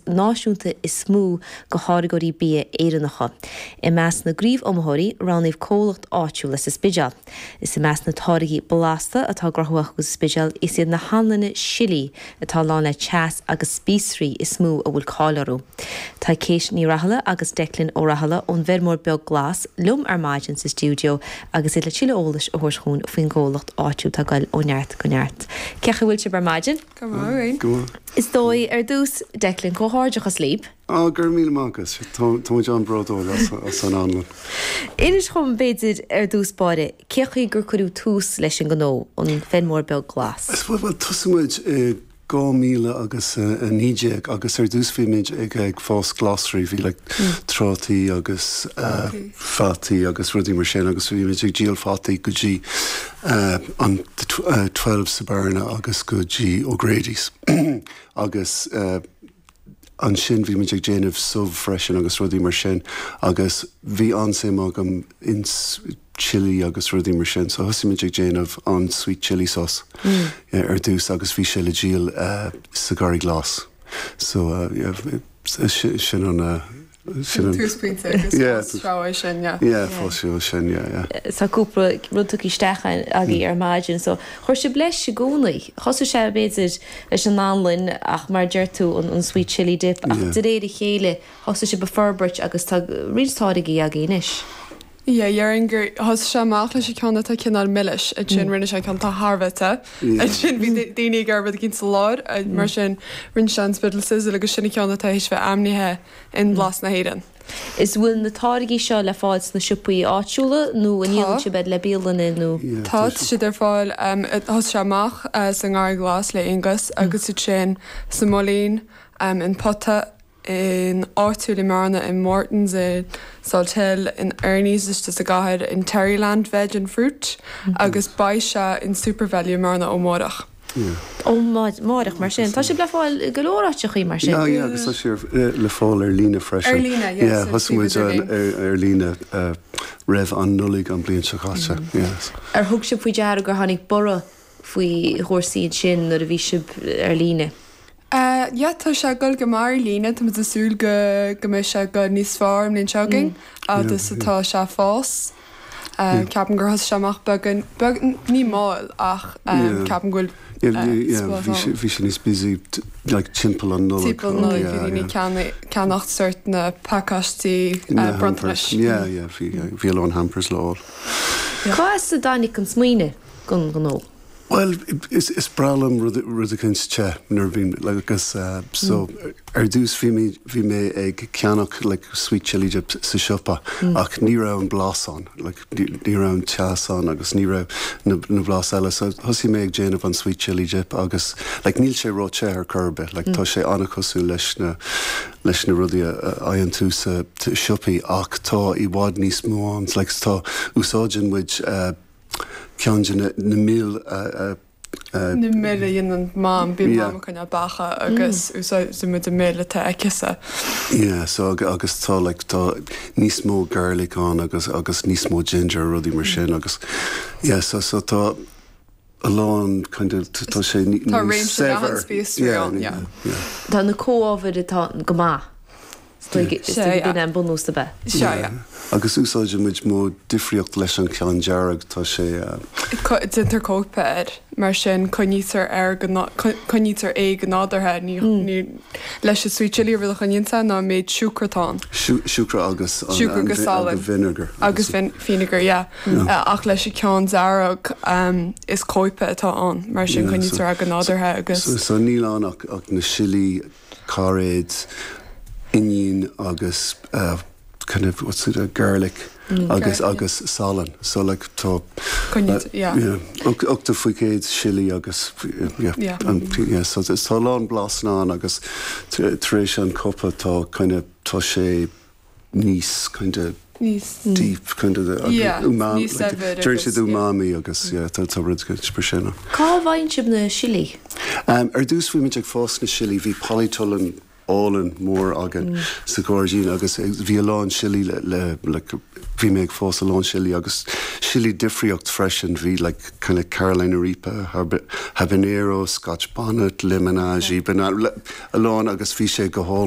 náisiúnta is mó do tháirgeoirí bia Éireannacha. I measc na gcraobh-iomaitheoirí, roghnaíodh comhlacht áitiúil as an Spidéal. Is i measc na táirgí blasta atá á gcruthú acu sa Spidéal, is iad na hanlanna sillí atá lán le teas agus spíosraí is mó a bhfuil cáil orthu. Tá Kate Ní Rathaille agus Declan Ó Rathaille ón bhFeirmeoir Beag Glas liom ar maidin sa stiúideo agus iad le tuilleadh eolais a thabhairt chugainn faoin gcomhlacht áitiúil atá ag goil ó neart go neart. Cén chaoi a bhfuil sibh ar maidin? Go maith. Go maith. Is dóigh, ar dtús, Declan, comhghairdeachas libh. Á, go raibh míle maith agat. Tá muid an-bhródúil as an anlann. Inis dhom, b'fhéidir, ar dtús báire, cén chaoi gur cuireadh tús leis an ngnó, an Feirmeoir Beag Glas? Bhuel, thosaigh muid i 2000 agus 19 agus ar dtús bhí muid ag ag fás glasraí, bhí like trátaí agus fataí agus rudaí mar sin agus bhí muid ag díol fataí go dtí an 12 sa Bearna agus go dtí O'Grady's agus Ansin bhí muid ag déanamh subh freisin agus rudaí mar sin agus bhí an-suim agam ins chilli agus rudaí mar sin so thosaigh muid ag déanamh an sweet chilli sauce ar dtús agus bhí sé le díol sa Garraí Glas. So yeah sin an Sin an túsphointe agus fás seo é sin, yeah. Yeah, fás seo é sin, yeah, yeah. Tá cúpla rud tugtha isteach agaibh ar maidin so chuir sibh leis i gcónaí. Thosaigh sé b'fhéidir leis an anlann ach mar a deir tú an sweet chilli dip ach de réir a chéile thosaigh sibh ag forbairt agus tá roinnt táirgí agaibh anois. Yeah, déarfainn gur thosaigh sé amach leis an ceann atá cineál milis, ansin rinne sé ceann atá thar a bheith te, ansin bhí daoine ag iarraidh rud eicínt sa lár, mar sin rinne sé an Spiddal Sizzle agus sin an ceann atá théis bheith ainmnithe in Blas na hÉireann. Is bhfuil na táirgí seo le fáil sna siopaí áitiúla nó an ndíolann sibh iad le bialanna nó? Tá, tá siad ar fáil. Thosaigh sé amach sa nGarraí Glas le Aonghus agus ansin sa Móilín, in Pota, in áitiúil i mBearna, in Mortons, i Salthill, in Ernie's istigh sa gcathair, in Terryland Veg and Fruit agus beidh sé in Supervalu i mBearna ó amárach. Ó amárach mar sin. Tá sibh le fáil i go leor áiteachaí mar sin. Yeah, yeah, agus tá sé le fáil ar líne freisin. Ar líne, yes. Yeah, thosaigh muid ar líne roimh an Nollaig an bliain seo caite, yes. Ar thug sibh faoi deara gur tháinig borradh faoi chúrsaí ansin nuair a bhí sibh ar líne? Yeah, tá sé ag dul go maith ar líne, tá muid ag súil go go mbeidh sé ag dul níos fearr an bhliain seo chugainn agus atá sé ag fás. Ceapaim gur thosaigh sé amach beagán, beag, ní mall ach ceapaim go bhfuil spás ann. Bhí sé níos busy like timpeall an Nollaig. Timpeall an Nollaig, bhí daoine ag ceannacht sort na pacáistí bronntanais. Yeah, yeah, bhí, bhí a lán hampers le fháil. Cá as a dtáinig an smaoineamh don ghnó? Bhuel, is breá liom rud rud eicínt te nuair a bhím like agus so ar dtús bhí mé bhí mé ag ceannach like sweet chilli dip sa siopa ach ní raibh an blas ann like ní raibh an teas ann agus ní raibh na na blas eile so thosaigh mé ag déanamh an sweet chilli dip agus like níl sé ró-te ar chor ar bith like tá sé an-chosúil leis na leis na rudaí a fhaigheann tú sa siopaí ach tá i bhfad níos mó ann like tá úsáideann muid ceann de na mil a. Na mil a dhéanann Mam, bíonn Mam ag coinneáil beacha agus úsáideann muid an mil atá aici-sa. Yeah, so agus tá like tá níos mó garlic ann agus agus níos mó ginger rudaí mar sin agus yeah so so tá a lán kind of tá sé níos Tá réimse leathan spíosraí ann, yeah. Yeah. Tá na comhábhair atá go maith. Is dóigh gurb in an bunús ab ea? Sea, yeah. Agus úsáideann muid modh difríocht leis an cheann dearg, tá sé. Déantar cóipe air, mar sin coinnítear air go, coinnítear é go nádúrtha, ní, ní, leis an sweet chilli an rud a choinníonn sé ná an méid siúcra atá ann. Siúcra agus an, Siúcra agus salann. vinegar. Agus vinegar, yeah. Ach leis an ceann dearg, is cóipe atá ann, mar sin coinnítear é go nádúrtha agus. So níl ann ach na sillí. cairéid, oinniún agus kind of what's it garlic agus agus salann so like tá yeah 80% sillí agus yeah yeah so tá a lán blasanna ann agus tar éis an cóipe tá kind of tá sé níos kind of deep kind of umami deir siad umami agus yeah tá tá rud mar sin ann. Cá bhfaigheann sibh na sillí? Ar dtús bhí muid ag fás na sillí, bhí polytunnel álainn mór againn sa ghairdín agus bhí a lán sillí le le like bhí mé ag fás a lán sillí agus sillí difríocht freisin, bhí like kind of Carolina Reaper, habanero, Scotch bonnet, lemon aji, banana, a lán agus bhí sé go hálainn.